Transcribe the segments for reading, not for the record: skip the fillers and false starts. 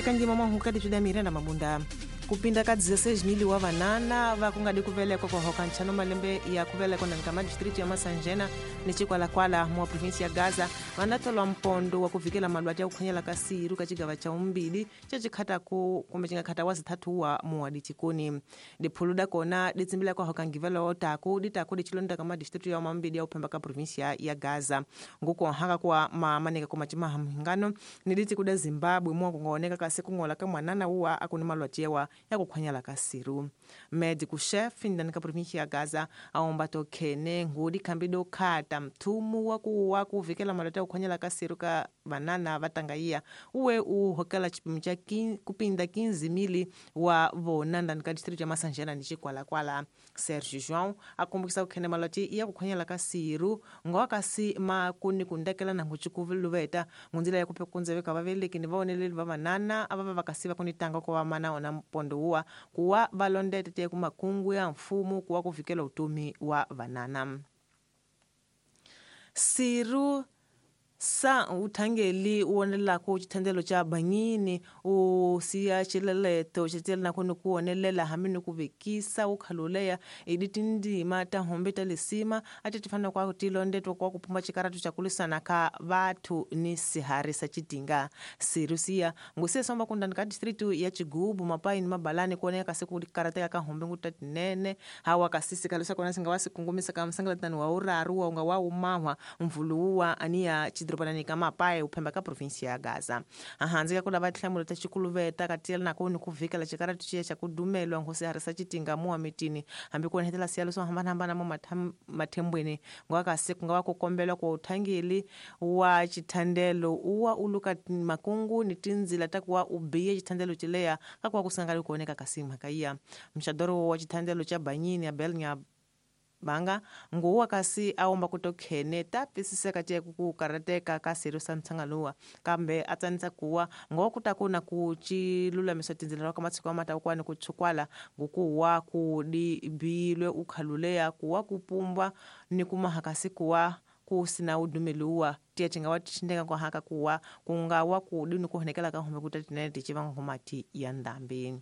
Kanjima mwahuka dichuda Miranda Mabunda. Kupinda ka 16,000 wa vanana va kungadi kuvelekwa kuhoka nchano malembe ya kuvelekwa na nkama district ya Masanjena ni Chikwalakwala mwa provinsi ya Gaza vanatolwa mpondo wa kuvikela malwati ya kukhanyela ka siru ka chigava cha umbili cha chikhata ku kumbe chingakhata wa zithathu wa muwadi chikuni diphulu dakona ditsimbila kwa ngivelo otaku ditaku dichilonda kama district ya mambili ya uphemba ka provinsi ya Gaza ngukuonhaka kwa mamaneka kuma chimahangano ni diti kuda Zimbabwe mwa kungaoneka kasi kung'ola ka mwanana uwa akuni malwati yawa ya kukhwanyala ka siru médico chefe ndani ka província ya Gaza aomba tokhene ngudi khambi dokhata mthumu wa kuwa kuvikela malwati ya kukhwanyala ka siru ka vanana va tangaiya uwe u hokela chipimo cha kupinda 15,000 wa vona ndani ka distrito ya Masanjena ni Chikwalakwala. Sergio João akumbukisa kukhene malwati ya kukhwanyala ka siru ngowa kasi makuni kundekela na nguchikuviluveta ngunzila ya kuphe kunzeveka vaveleki ni vaoneleli va vanana ava va vakasi va kunitanga ko va mana ona mpondo uwa kuwa valondete te kumakungu ya mfumo kuwa kuvikela utomi wa vanana. Siru sa uthangeli uwonelelako chithandelo cha banyini usiya chileleto chitela nako nikuwonelela hambi nikuvekisa ukhaluleya idi tindima ta hombe ta lisima ati tifana kwa tilondetwa kwa kupumba chikaratu cha kulisana ka vathu ni sihari sa chitinga. Siru siya ngusiye somba kundani ka distritu ya Chigubu Mapai ni Mabalani kuoneka kasi kukarateka ka hombe nguta tinene hawa kasisi kalusa kona singa wasikungumisa ka msangalatani wa uraru wa unga wa umahwa mvuluwa aniya chidropanani ka Mapai uphemba ka provinsi ya Gaza. Ahanzi ka kulava tihlamulo ta chikuluveta katiyela nako ni kuvikela chikaratu chiya cha kudumelwa nkhosi harisa chitinga muwa mitini hambi kuonetela siyalo swo hambanahambana mo mathembweni ngwakasi kunga kukombelwa kwa uthangeli wa chithandelo uwa uluka makungu ni tinzila ta kuwa ubiye chithandelo chileya kakuwa kusangali kuoneka kasi mhakaiya. Mxadoro wa chithandelo cha banyini Abel Nya banga nguwa kasi aomba kutokhene tapisiseka tiye kukarateka ka siru sa mtsangaluwa kambe atsanisa kuwa ngokutakuna kuchilulamisa tinzila ka matsiko amata ukwani kutshukwala ngukuwa kudibilwe ukhaluleya kuwa kupumbwa ni kumahakasi kuwa kusina udumeluwa tiye tingawa tshindeka kwa haka kuwa kungawa kudi ni kuhonekela ka hombe kutatinene tichivanga ngomati ya ndambi.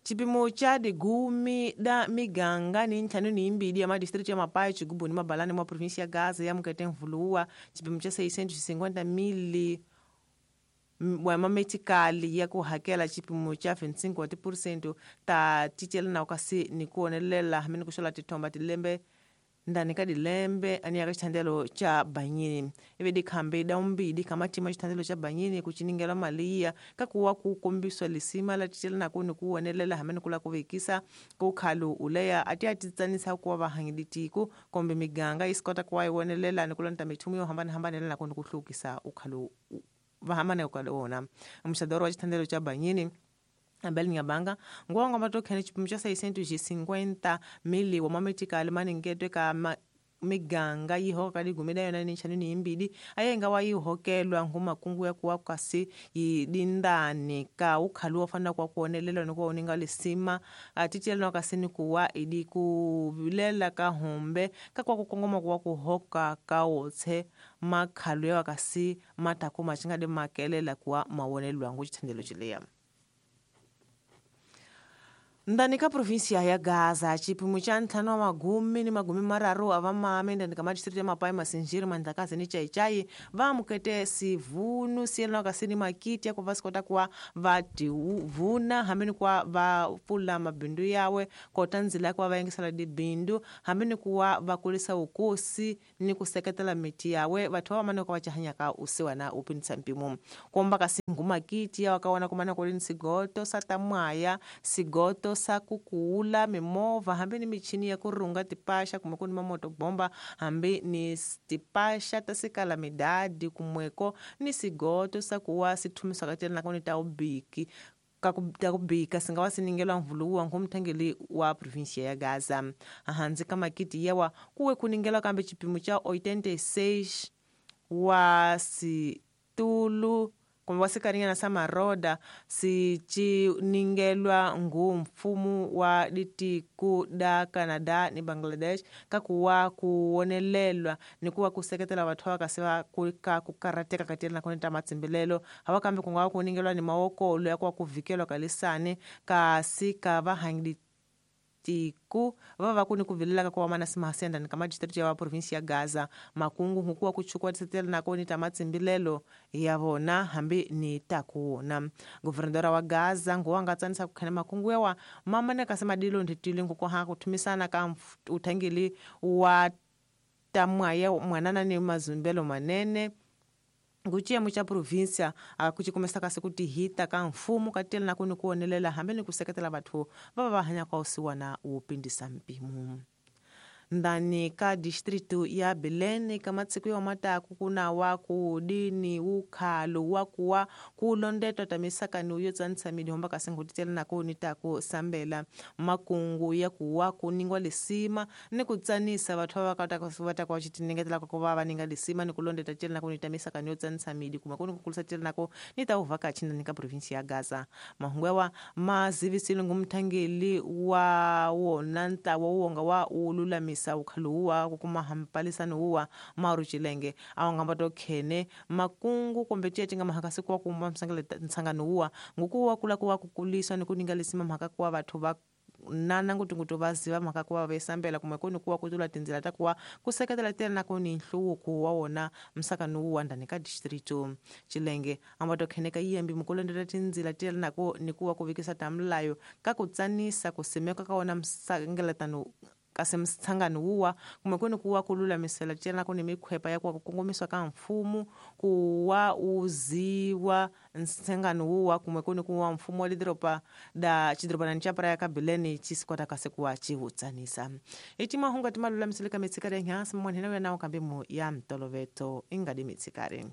Chipimo cha digumi da miganga ni ntlhanu ni imbili ya madistritu ya Mapai, Chigubu ni Mabalani mwa provinsi ya Gaza ya mukete mvuluwa chipimo cha 650,000 wa mametikali ya kuhakela chipimo cha 25% ta tichela na kasi ni kuonelela hamini kushola tithomba tilembe ndani ka dilembe ani ya chithandelo cha banyini ive dikhambe da umbili kama tima chithandelo cha banyini kuchiningela maliya kakuwa kukombiswa lisima la tichela nako ni kuwonelela hamene kula kuvekisa kukhalu uleya ati atitsanisa kuwa vahangidi tiko kombe miganga isikota kuwa iwonelela ni kulonta mithumu yo hambanahambana nako ni kuhlukisa ukhalu vahamane ukalona mxadoro wa chithandelo cha banyini Abel Nyabanga ngwongo matokhene chipimo cha 650,000 wa mametikali maningetwe ka miganga yihoka ligumida yona ni ntlhanu ni imbili ayenga wa yihokelwa ngumakungu ya kuwa kasi yidindani ka ukhalu wa fana kwa kuonelelwa ni kuwa uninga lisima atitiyelwa kasi ni kuwa idi kuvilela ka hombe ka kwa kukongoma kuwa kuhoka ka otse makhalu ya kasi matako machinga makelela kuwa mawonelwa ngu chithandelo chileya. Ndani ka provinsia ya Gaza chipimo cha ntlhanu wa magumi ni magumi mararu ava mame ndani ka madistritu ya Mapai, Masinjiri, Mandlakazi ni Chaichai va mukete sivunu siyelana kasi ni makiti ya kuva sikota kuwa va tivuna hambi ni kuwa va pfula mabindu yawe kota nzila ya kuva va yingisela dibindu hambi ni kuwa va kulisa ukosi ni ku seketela miti yawe vathu va vamane ku va chahanyaka usiwana u pindisa mpimo komba kasi ngu makiti ya wakawana kumana kuli ni sigoto sa tamwaya sigoto sa kukuula mimovha hambi ni michini ya kurunga tipaxa kumbe ku ni mamoto bomba hambi ni tipaxa ta sikala midadi kumweko ni sigoto sa kuwa sithumiswa ka tela nakoni ta ubiki ta kubika singa wa siningelwa mvuluwa ngumthangeli wa provinsia ya Gaza. Ahandzi ka makiti yawa kuwe kuningelwa kambe chipimo cha 86 wa situlu Kumbe wa sikarinyana sa maroda siciningelwa ngu mfumu wa ditiku da Canada ni Bangladesh kakuwa kuwonelelwa ni kuwa kuseketela vathu va kasi va ka ku karateka ka tiyela nakoni ta matsimbilelo hava kambe ku nga va ku ningelwa ni mawokolo ya kuwa ku vhikelwa ka lisani kasi ka va hangi tiku va va ku ni ku vilela ka ku va mana simahasenda ni ka majistriti ya va provinsi ya Gaza makungu hukuwa ku chukwa tisetela nakoni ta matsimbilelo ya vona hambi ni ta ku wona guvernadora wa Gaza nguwa nga tsanisa ku khene makungu yawa mamane kasi madilo ndhitile nguko ha ku thumisana ka uthangeli wa ta mwaya mwanana ni mazumbelo manene nguciyemo ca província kucikumesa kasi kutihita ka mfumo ka tiyela na kuni kuwonelela hambi ni ku seketela vathu va va va hanyaka usiwana wo pindisa mpimo. Ndani ka distrito ya Belém ka matsiku yo mataku kuna wa ku dini ukhalo wa kuwa kulondetwa ta misakano yo tsanisa midihomba kasi ngutitela nako ni taku sambela makungu ya kuwa kuningwa lisima ni kutsanisa vathu va va va ta ku xitinengetela ku va va ninga lisima ni kulondeta tela nako ni ta misakano yo tsanisa midi kuma ku ni kukulisa tela nako ni ta uvhakachi ndani ka provinsi ya Gaza. Mahungu yawa mazivisile ngumthangeli wa wona ntlawa wonga wa ululamisa ukhaluwa kukuma hampalisano uwa maru chilenge awangamba to khene makungu kumbe cece nga mahaka siku wa kumba msangano uwa ngukuwa kula kuwa kukuliswa ni kuninga lisima mhaka kuwa vathu va nana ngutungutu va ziva mhaka kuva va kumbe kuni kuwa kutula tindzela ta kuwa kuseketela tela na kuni nhluvuko wa wona msakano uwa ndani ka distrito Chilenge amba to kheneka yiyambi mukulondela tindzela tela nako ni kuwa kuvikisa ta mlayo ka kutsanisa kusimeka ka wona msangeletano kasi msangano wuwa kumbe kuni kuwa kululamisela tela kuni mikhwepa ya kuwa kukongomiswa ka mfumo kuwa uziwa nsangano wuwa kumbe kuni kuwa mfumo wa lidoropa da chidoropanani cha praia ka Belém chisikwata kasi kuwa chiwutsanisa ici mahungu ati malulamisele ka mitsikari ya nhansi mwanhena uya nawo kambe mu ya mtoloveto ingadi mitsikari.